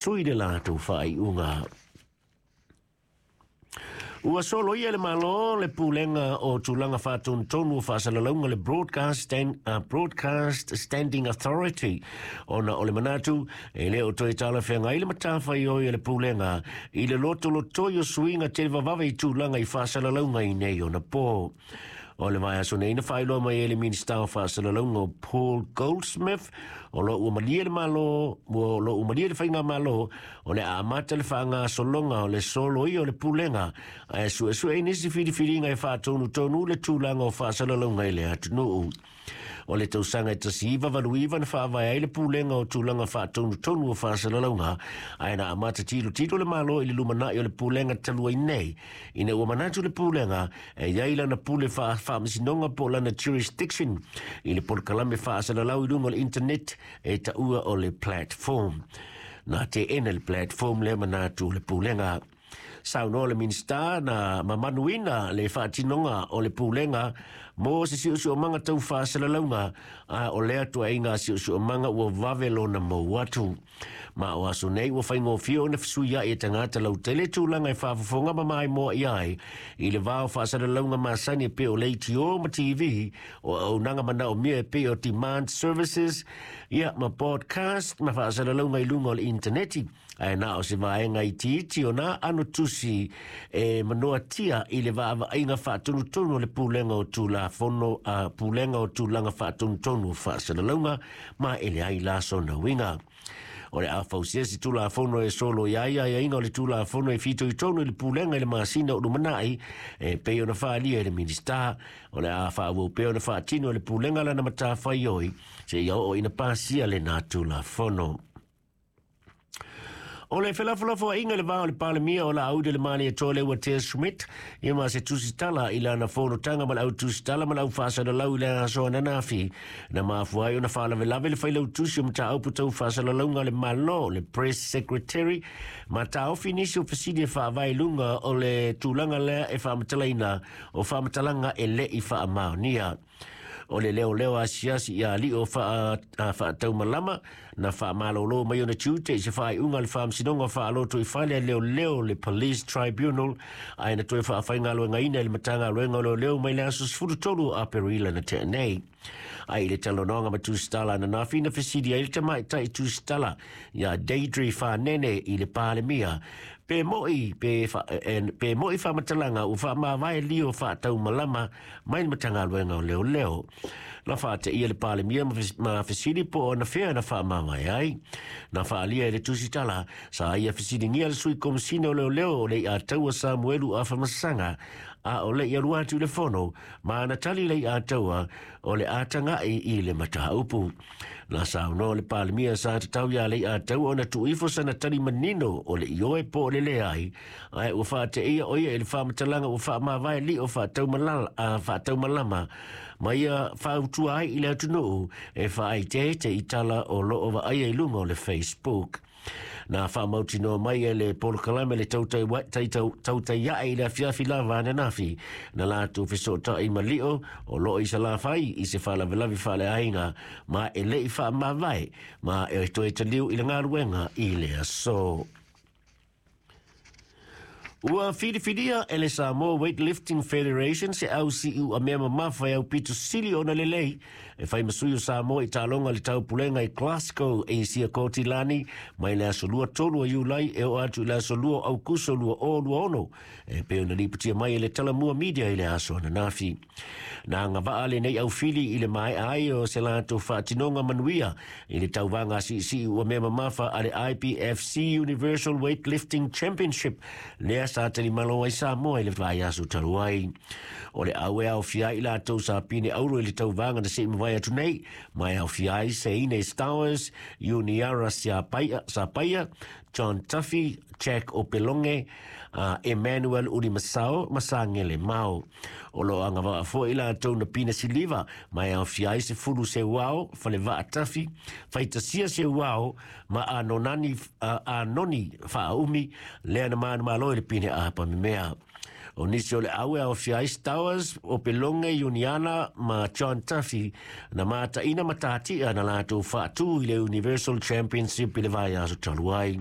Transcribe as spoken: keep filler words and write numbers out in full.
Sui le latou faaiuga. Ua soloia e le Malo le Pulega o Tulaga Faatonutonu o Faasalalauga, le Broadcast, Stand, uh, Broadcast Standing Authority, ona o le manatu e le o toe talafeagai le matafaioi a le Pulega i le lotolotoi o suiga televavave i tulaga i faasalalauga i nei ona po. O le vaiaso nei na faailoa mai e le Minista o Faasalalauga o Paul Goldsmith o lo ua malie le Malo, o lo ua malie le Faigamalo o le a amata le faagasologa o le soloia o le Pulega ae suesue ai nisi filifiliga e faatonutonu le tulaga o faasalalauga i le atunuu. O le tausaga e tasi iva valu iva na faavae ai le Pulega o Tulaga Faatonutonu o Faasalalauga, ae na amata tilotilo le Malo i le lumanai o le Pulega talu ai nei, ina ua manatu le Pulega e i ai lana pule faamasinoga po o lana jurisdiction i le polokalame faasalalau i luga o le internet e taua o le platform. Na teena le platform lea manatu o le Pulega. Saunoa le Minista na mamanuina le faatinoga o le Pulega mo se siosiomaga tau faasalalauga, a o lea tuaiga siosiomaga ua vave lona mou atu. Ma o aso nei ua faigofie ona fesuiai e tagata lautele tulaga e faafofoga ma maimoa i ai i le va o faasalalauga masani e pei o leitio ma T V, o auaunaga manaomia e pei o demand services, ia ma podcast ma faasalalauga i luga o le intaneti, ae na o se vaega itiiti o nā ano tusi e manoatia i le vaavaaiga faatonutonu o le Pulega o Tulafono, a Pulega o Tulaga Faatonutonu o Faasalalauga, ma e leai la sona uiga. O le a fausia se Tulafono e soloia ai aiaiga o le Tulafono e fitoitonu i le Pulega i le masina o lumanai, e pei ona faaalia e le Minista. O le a faaauau pea ona faatino e le Pulega lana matafaioi seia oo ina pasia lena Tulafono. O le felafolafoaiga i le va o le Palemia o Laauli Malietoa Leuatea Schmidt ia ma se tusitala i lana fonotaga ma le au tusitala ma le au faasalalau i le aso ananafi, na mafua ai ona faalavelave le failautusi o mataupu tau faasalalauga a le Malo, le Press Secretary, ma taofi nisi o fesili e faavae i luga o le tulaga lea e faamatalaina o faamatalaga e le i faamaonia. O le leoleo asiasi ia alii o faataumalama na faamalolo mai ona tiute i se faaiuga a le Faamasinoga Faalotoifale a Leoleo, le Police Tribunal, ae na toe faafaigaluegaina i le Matagaluega o Leoleo mai le aso sefulu tolu o Aperila na tea nei. Ai i le talanoaga ma tusitala ananafi, na fesili ai le tamaitai tusitala ia Deidre Fanene i le Palemia pe moi pe, fa, e, pe moi faamatalaga ua faamavae lio faataumalama mai le Matagaluega o Leoleo. Na faateia le Palemia ma fesili po o na fea na faamavae ai. Na faalia e le tusitala sa ia fesiligia le sui komisina o leoleo o Leiataua Samuelu Afamasaga a o le i alu atu i le fono, ma na tali Leiataua o le a tagai i le mataupu. Na saunoa le Palemia sa tatau iā Leiataua ona tuuifo sana tali manino o le ioe po o le leai, ae ua faateia o ia i le faamatalaga ua faamavae lio faataumalama ma ia fautua ai i le atunuu e faaeteete i tala o loo vaaia i luga o le Facebook. Na faamautinoa mai e le polokalame le Tautai Ae i le afiafi lava ananafi na latou fesootai ma Lio o loo i Salafai i se faalavelave faaleaiga, ma e le i faamavae ma e toe taliu i le galuega i le aso. Ua filifilia e le Samoa Weightlifting Federation se au siuamea mamafa e aupito sili ona lelei e fai ma sui o Samoa i taaloga le Taupulega i Glasgow e Siakotilani mai le aso lua tolu o Iulai e oo atu i le aso lua o Aukuso lua o lua ono, e pei ona lipotia mai e le Talamua Media i le aso ananafi. Na agavaa lenei aufili i le maea ai o se latou faatinoga manuia i le tauvaga siisiuamea mamafa a le I B F C Universal Weightlifting Championship lea sa talimalo ai Samoa i le vaiaso talu ai. O le au e aofia ai latou sa pine auro i le tauvaga na se i mavae atu nei, ma e aofia ai Seine Stowers, Iuniarra Siapaia, Sapaia, John Tuffy, Jack Opeloge, uh, Emmanuel Ulimasao, Masagele Mao. O lo agavaa foi latou na pine siliva, ma e aofia ai Sefulu Seuao, Falevaa Tafi, Faitasia Seuao, ma Anonani, uh, Anoni Faaumi, lea na manumalo i le pine apa memea. O nisi o le au e aofia ai Stowers, Opeloge, Iuniarra ma John Tuffy na mataina matatia na latou faatu i le Universal Championship i le vaiaso talu ai.